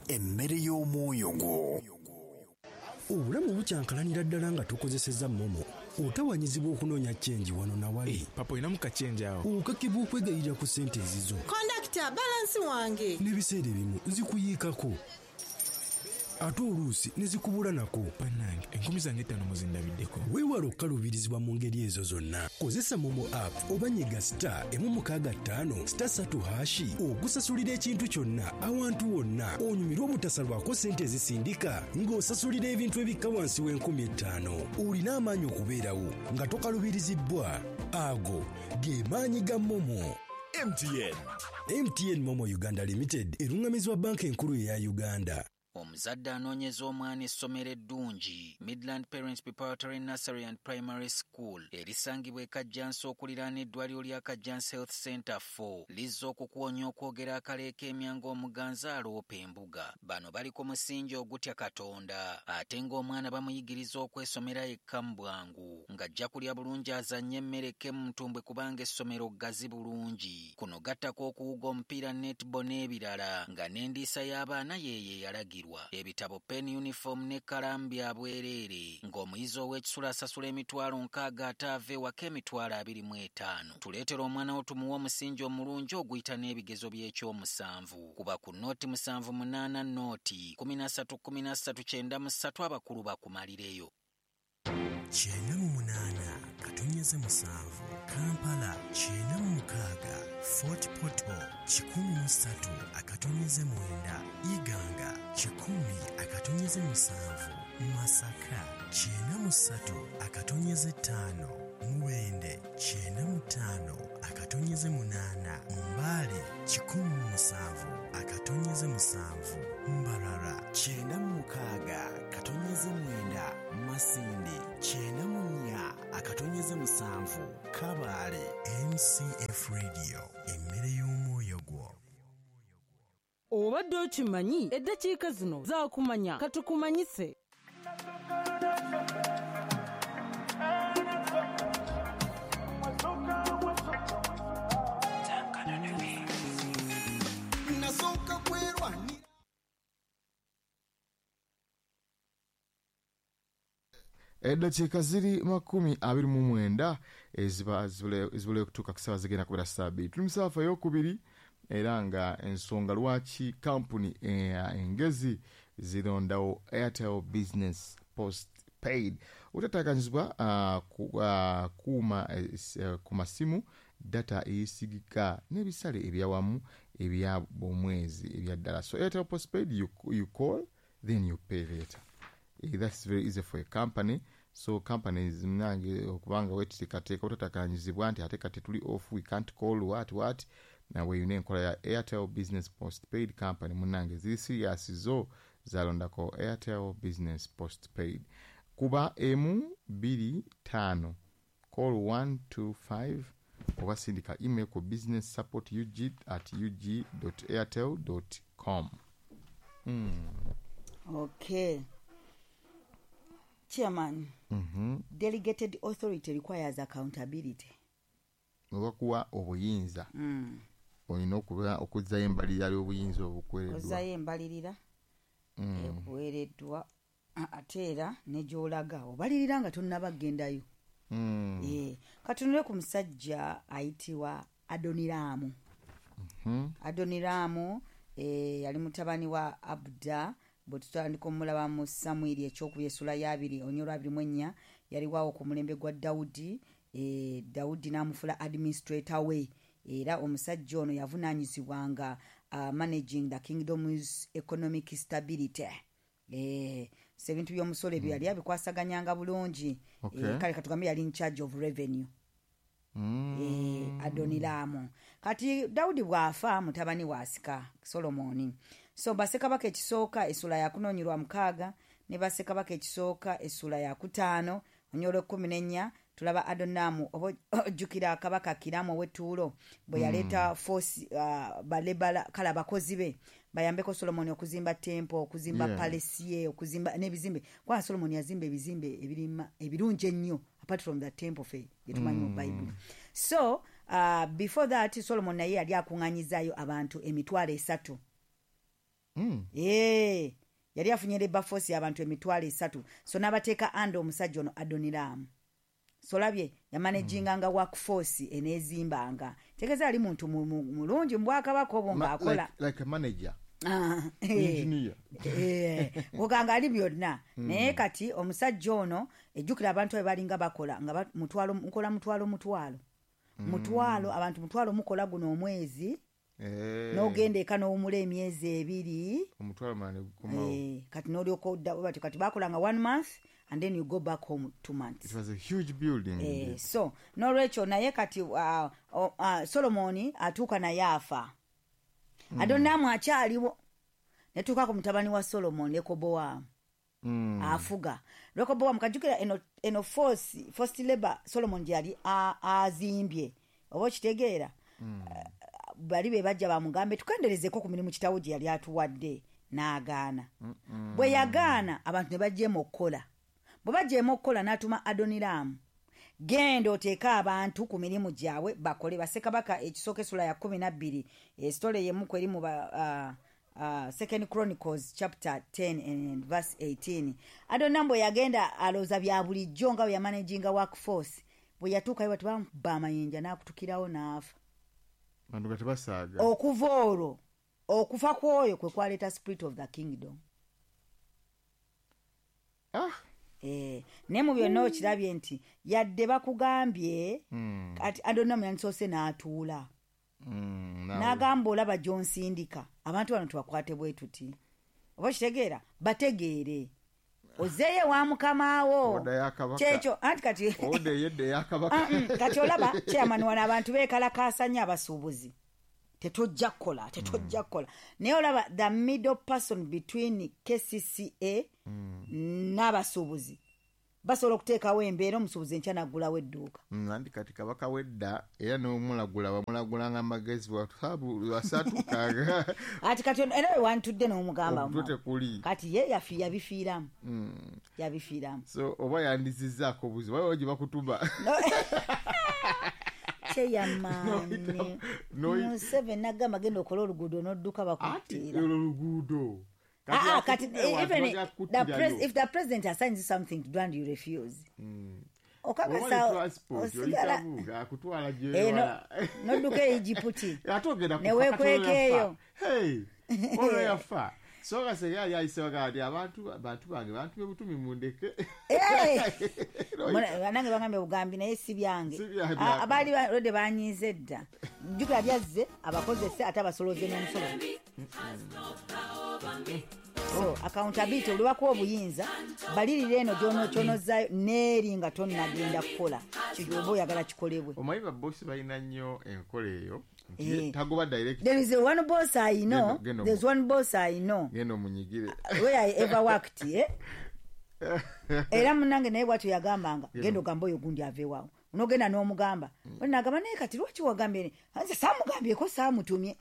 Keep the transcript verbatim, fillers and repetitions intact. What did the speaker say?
Emmere y'omwoyo gwo. Obulamu bukyankalanira ddala nga tukozesezza MoMo. Otawanyizibwa okunoonya change wano na wali. Hey, papa olinamu ka change awo. Okakibwa okwegayirira ku ssente ezizo. Kondakita, balance wange. N'ebiseera ebimu zikuyiikako, ate oluusi ne zikubula nako. Bannange, enkumi zange ttaano muzindabiddeko. Weewale okukaluubirizibwa mu ngeri ezo zonna. Kozesa MoMo app oba nyiga star emu mukaaga ttaano star ssatu hash okusasulira ekintu kyonna awantu wonna, onyumirwe obutasalwako ssente ezisindika ng'osasulira ebintu ebikka wansi w'enkumi ettaano. Olina amaanyi okubeerawo nga tokaluubirizibbwa. Ago ge maanyi ga MoMo. M T N. M T N MoMo Uganda Limited eruŋŋamizibwa Banka Enkulu eya Uganda. Omuzadde anoonyeza omwana essomero eddungi, Midland Parents Preparatory Nursery and Primary School erisangibwa e Kajjansi okuliraana eddwaliro lya Kajjansi Health Center four, lizza okukuwonya okwogera akaleeka emya ng'omuganzi aloopa embuga. Bano bali ku musingi ogutya Katonda, ate ng'omwana bamuyigiriza okwesomera yekka mu bwangu, ng'ajja kulya bulungi, azannye emmere eke mu ntumbwe, kubanga essomero ggazi bulungi. Kuno gattako okuwuga omupiira, netball n'ebirala, nga n'endiisa y'abaana yeeyo eyalagirwa. Ebitabo, pen, uniform n'ekkalaamu bya bwereere, ng'omuyizi ow'ekisula asasula emitwalo nkaaga ate ava ewaka emitwalo abiri mu etaano. Tuleetera omwana wo tumuwe omusingi omulungi oguyita n'ebigezo by'ekyomusanvu. Kuba ku nought musanvu munaana nought kumi na ssatu kumi na ssatu kyenda mu ssatu, abakulu bakumalireyo. Kyenda mu munaana katonyeze musanvu Kampala, kyenda mu mukaaga Fort Portal, kikumi mu ssatu akatonyeze mwenda Iganga, kikumi akatonyeze musanvu Masaka, kyenda mu ssatu akatonyeze ttaano Mubende, kyenda mu ttaano akatonyeze munaana Mbale, kikumi mu musanvu akatonyeze musanvu Mbarara, Kyenda mu mukaaga katonyeze mwenda Masindi, kyenda mu nnya akatonyeze musanvu Kabaale. M C F Radio, emmere y'omwoyo gwo. Obadde okimanyi? Eddakiika zino zaakumanya, katukumanyise. Nasooka kwerwanira. Eddakiika ziri makumi abiri mu mwenda eziba zibule okutuuka ku ssaawa zigenda kubeera ssaawa bbiri. Tuli mu saafa eyokubiri, era nga ensonga lwaki kampuni engezi zirondawo Airtel Business Postpaid. Otataganyizibwa uh, kuuma uh, ku masimu, data eyesigika n'ebisale ebyawamu ebya omwezi ebya ddala. So Airtel Postpaid, you, you call, then you pay later. Eh, that's very easy for a company. So companies nange okubanga weteekateeka otatakanyizibwa nti ate kati tuli off, we can't call, what what. Nawe yina enkola ya Airtel Business Postpaid. Company munange ziri serious, zo zalondako Airtel Business Postpaid. Kuba emu bbiri ttaano, call one two five, oba sindika email ku business support ug at ug airtel com mm. Okay, Chairman. mm -hmm. Delegated authority requires accountability. Obakuwa obuyinza, mm. olina okuba okuzzayo embalirira y'obuyinza obukuweereddwa. Ozzayo embalirira Mm. ekuweereddwa, ate era ne gy'olaga obalirira nga tonnaba kgendayo. Mm. Eh, katunule ku musajja ayitibwa Adoniraamu. Mhm. Adoniraamu eh, yali mutabani wa Abuda. Bwe tutandika omulaba mu Samwiri ekyokubiri essula ya abiri onyolwa abiri mu ennya, yaliwawo ku mulembe gwa Dawudi. eh, dawudi n'amufula administrator we, era omusajja ono yavunaanyizibwanga uh, managing the kingdom's economic stability. Eh, so ebintu by'omusolo ebyo yali abikwasaganyanga bulungi. Okay. Eh, kale katugambe yali in charge of revenue. Mm. eh, Adoniraamu. Kati Dawudi bw'afa, mutabani waasika Solomoni. So Bassekabaka ekisooka essula yakunoonyerwa mukaaga ne Bassekabaka ekisooka essula yakutaano onyola ekkumi n'ennya, tulaba Adonaamu. Oba ojjukira kabaka Kiramu ow'ettuulo bwe yaleeta force, uh, balebala, kale abakozi be bayambeko Solomoni okuzimba temple, okuzimba Yeah. palace ye, okuzimba n'ebizimbe, kubanga Solomoni yazimba ebizimbe ebirima ebirungi ennyo apart from the temple fe gyetumanyi mu Bayibuli. So uh, before that, Solomon naye yali akuŋŋanyizaayo abantu emitwalo esatu. Mm. Eh, yali afunye labor force y'abantu emitwalo esatu. So n'abateeka under omusajja ono Adoniramu. So labye yamanaginganga mm. workforce eneezimbanga. Tegeeza ali muntu mulungi mu bwakabaka obwo ng'akola. Like, like a manager. Ah, engineer. Eh, oganga ali byonna. Mm. Naye kati omusajja ono ejjukira abantu be balinga bakola nga mutwalo nkola mutwalo mutwalo. Mm. Mutwalo abantu mutwalo mukola guno omwezi. Eh. N'ogenda eka n'owumula emyezi ebiri. Omutwalo mane gukomawo. Eh, kati n'olyoka odda bati kati bakolanga one month and then you go back home two months. It was a huge building. Eh, so n'olwekyo naye kati uh, uh, Solomoni atuuka naye afa. Mm. Adoniramu akyaliwo. Netuuka ku mutabani wa Solomoni Rekobowamu. Mm. Afuga. Rekobowamu kajjukira eno eno force forced labor Solomon gyali azimbye. Oba okitegeera? Mm. Uh, bali be bajja bamugambe tukenderezeko ku mirimu kitawo gye yali atuwadde n'agaana. Mm -mm. Bwe yagaana abantu ne bajjeemu okukola. Bwe bajjeemu okukola n'atuma Adoniramu. Genda oteeke abantu ku mirimu gyabwe bakole. Bassekabaka ekisooka essula ya kkumi na bbiri esitole y'emu ku eri mu uh, uh, Second Chronicles chapter ten and verse eighteen. Adoniramu bwe yagenda alooza bya bulijjo nga bwe yamanaginga workforce. Bwe yatuukayo bati bamukuba amayinja n'akutukirawo n'afa. Bantu kati basaaga. Okuva olwo okufa kw'oyo kwe kwaleeta spirit of the kingdom. Ah. Eh, naye mu byonna okirabye nti yadde bakugambye mm. kati Adoniramu yandisoose n'atuula. Mm, n'agamba olaba gy'onsindika abantu bano tubakwate bwe tuti. Oba okitegeera bategeere. Ozeeyo wa mukamaawo. Kyekyo anti kati Oda eyedda eya kabaka. Kati olaba chairman wano abantu beekalakaasa nnyo abasuubuzi. Tetujja kukola, tetujja kukola. Naye olaba the middle person between K C C A mm. n'abasuubuzi basobola okuteekawo embeera omusuubuzi enkya n'aggulawo edduuka. Mm, anti kati kabaka wedda era n'omulagula bamulagulanga amagezi wasatukaga. Ati kati era we wantudde n'omugamba omutwe tekuli. Kati ye yafi yabifiiramu. Mm. Yabifiiramu. So oba yandizizzaako obuzibu waliwo gye bakutuma. No. Chairman. Museveni n'agamba genda okole oluguudo n'odduka bakuttira. Ati olwo luguudo. Ah, ah, kati, even the pres if the president assigns you something to do and you refuse. Mm. Okakasa osigala akutwala gyewala. N'odduka e Egiputi. Ate ogenda Ne weekwekeeyo. Hey, olwo yafa. So nga senga yali ayisewo ati abantu bantu bange bantu b'ebutumi mundeke. Banange bagambye bugambi naye si byange. Abaali already banyiize dda. Jjukira byazze abakozese ate abasolooze n'omusolo. So accountability olwakuwa obuyinza balirira eno gy'onokyonozaayo n'eri nga tonnagenda kukola kyoba oyagala kikolebwe. Omanyi babosi balina nnyo enkola eyo nti tagoba direct. There is one boss I know. There's one boss I know. Genda omunyigire. Where I ever worked, eh? Era munnange naye bw'atyo yagambanga genda ogambe oyo gundi aveewaawo. Onogenda n'omugamba. Nagamba naye kati lwaki wagambye? Nze saamugambyeko saamutumye.